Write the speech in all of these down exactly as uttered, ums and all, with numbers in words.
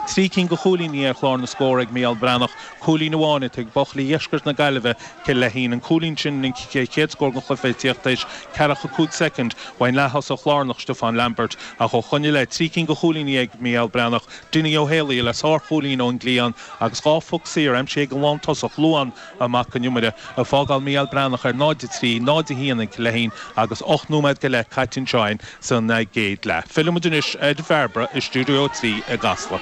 Trí cinn de chúilíní ar chlár na scór ag Mícheál Breathnach, cúilín amháin ag buachaillí Dheisceart na Gaillimhe, Cill Leithín. An cúilín sin an chéad scór den chluiche ag tíocht tar éis ceathracha cúig soicind ón leath-thosach lárnach Stiofán Lambert ach ó shoin i leith trí cinn de chúilíní ag Mícheál Breathnach, Dinny Ó Héalaí le sárchúilín ón gcliathán agus dhá phoc saor aimsithe ag an lántosach Luan Mac an Iomaire ag fágáil Mícheál Breathnach ar náid a trí, náid a haon ag Cill Leithín agus ocht nóiméad go leith caite anseo san gcéad leath. Fillfimid anois ar Bhairbre i stiúideo trí i gCasla.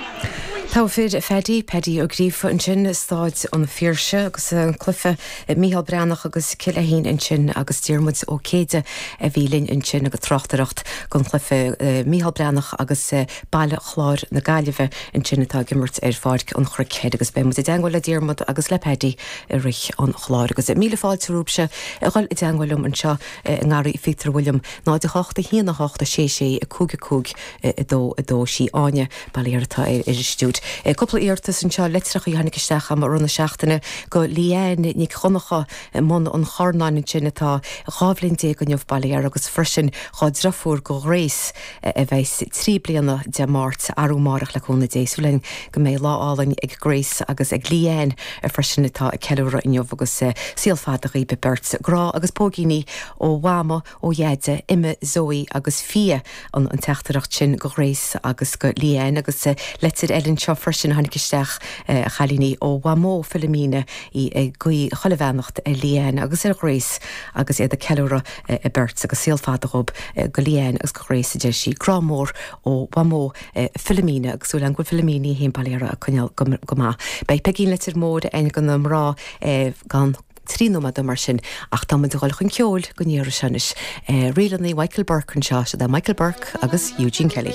Tá fir Phaddy Paddy Ó Gríofa ansin Staid an Phiarsaigh agus an cluiche Mícheál Breathnach agus Cill Leithín ansin agus Diarmuid Ó Céide a bhí linn ansin agus tráchtaireacht don chluiche Mícheál Breathnach agus Baile Chláir na Gaillimhe ansin atá ag imirt ar Pháirc an Chnoic agus beidh muid i dteagmháil le Diarmuid agus le Paddy i rith an chláir agus míle fáilte romhaibhse a dhul i dteagmháil liom anseo i ngarraí Phíotair William náid a hocht a haon a hocht a sé sé a cúig a cúig a dó a dó sí Áine bailí atá ar ar stiúid. Cúpla iarratas anseo litreacha a tháinig isteach am rith na seachtaine go Leanne Nic Choncha mbun an Chornáin sin atá dhá bhliain déag inniu bailí agus freisin dá deirfiúr go Grace a bheas trí bliana Dé Máirt arú amárach le cúnamh Dé súil go mbeidh lá álainn ag Grace agus ag Leanne freisin atá ag ceiliúradh inniu agus saol fada daoibh beirt grá agus póigíní ó Mhama ó Dheaide Emma Zoe agus Fia an an teachtaireacht sin go Grace agus go Leanne agus leitir eile seo freisin tháinig isteach a chailíní ó Mhamó Philomena í ag guí chuile bheannacht ar Leanne agus ar Grace agus iad ag ceiliúradh a beirt agus saol fada dóibh go Leanne agus go Grace a deir sí grá mór ó Mhamó Philomena agus súil go Philomena héin bailí a coinneáil go maith. Beidh Peigín Leitir Móir ag go na mná gan trí nóiméad mar sin ach tá muid ag dul chun ceoil go ndéara senis. Rílanna Michael Burke anseo sé Michael Burke agus Eugene Kelly.